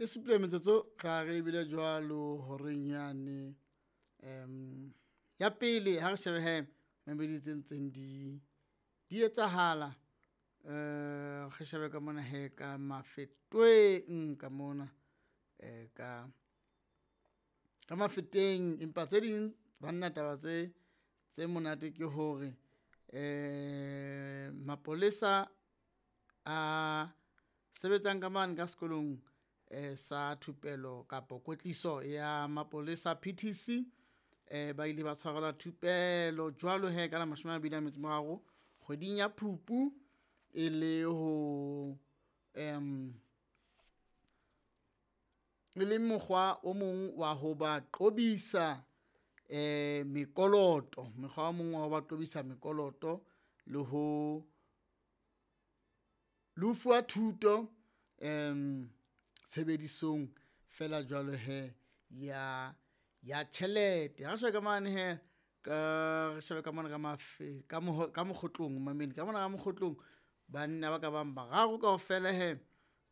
E supile metsotso ra re ebile jwalo horeng yane ya pele. Ha re shebe he mamedi tse ntseng di etsahala, re shebe ka mona he ka Mafeteng ka mona, ka Mafeteng. Empa tse ding banna taba tse monate ke hore mapolesa a sebetsang ka mane ka sekolong sa thupelo kapo kwetliso ya mapolesa PTC, ba ile ba tshwarelwa thupelo jwalo hee ka la 23 kgweding ya Phupu e le ho e le mokgwa o mong wa ho ba qobisa mekoloto, mokgwa o mong wa ho ba qobisa mekoloto le ho fuwa thuto tshebedisong fela jwalo he ya tjhelete. Ha re shebe ka mane he ka re shebe ka mona ka Mokgotlong mamedi ka mona ka Mokgotlong. Banna ba ka bang bararo kaofela he,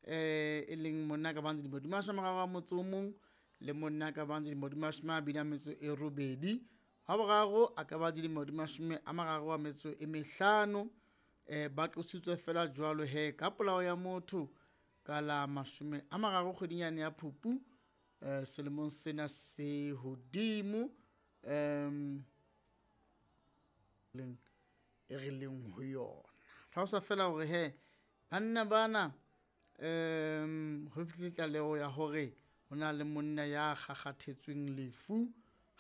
e leng monna ka bang dilemo di 31 le monna ka bang dilemo di 28. Wa boraro a ka ba dilemo di 35. Ba qositswe fela jwalo he ka polao ya motho ka la 30 kgweding yane ya Phupu, selemong sena se hodimo, leng e re leng ho yona. Hlalosa fela hore he banna bana, ho fihlile tlaleho ya hore ho na le monna ya kgakgathetsweng lefu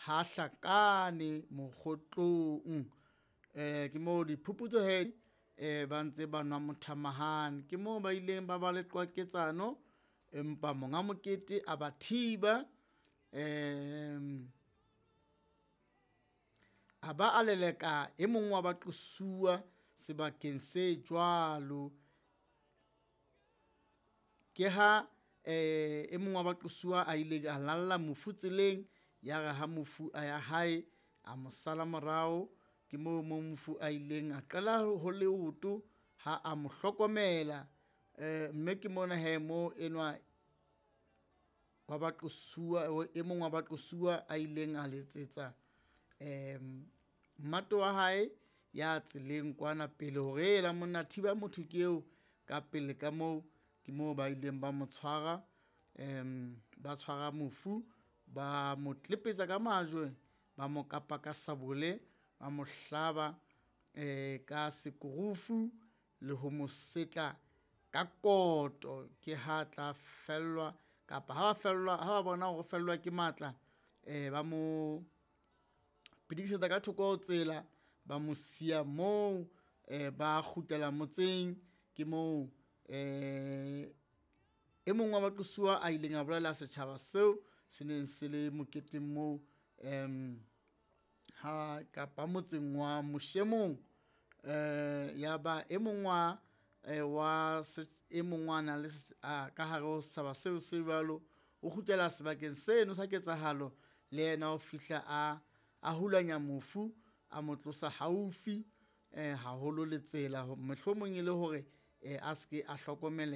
ha hlakane Mokgotlong. Ke moo diphuputso he ba ntse ba nwa mothamahane, ke moo ba ileng ba ba le qwaketsano, empa monga mokete a ba thiba, a ba a leleka e mong wa baqosuwa sebakeng se jwalo. Ke ha e mong wa baqosuwa a ile a lalla mofu tseleng, ya re ha mofu a ya hae a mo sala morao. Ke moo mo mofu a ileng a qela ho leoto ha a mo hlokomela, mme ke mona he mo enwa wa baqosuwa, e mong wa baqosuwa a ileng a letsetsa mmato wa hae ya tseleng kwana pele hore hela monna thiba motho ke eo ka pele ka moo. Ke moo ba ileng ba mo tshwara, ba tshwara mofu, ba mo tlepetsa ka majwe, ba mo kapa ka sabole, ba mo hlaba ka sekurufu le ho mo setla ka koto. Ke ha tla fellwa kapa ha ba fellwa, ha ba bona hore o fellwa ke matla, ba mo pidikisetsa ka thoko ho tsela, ba mo siya moo, ba kgutlela motseng. Ke moo e mong wa baqosuwa a ileng a bolella setjhaba seo se neng se le moketeng moo, ha kapa motseng wa Moshemong, ya ba e mong wa e mong wa nang le ka hare ho setjhaba seo se jwalo, o kgutlela sebakeng seno sa ketsahalo le yena o fihla a hulanya mofu, a mo tlosa haufi haholo le tsela, mohlomong e le hore a seke a hlokomeleha.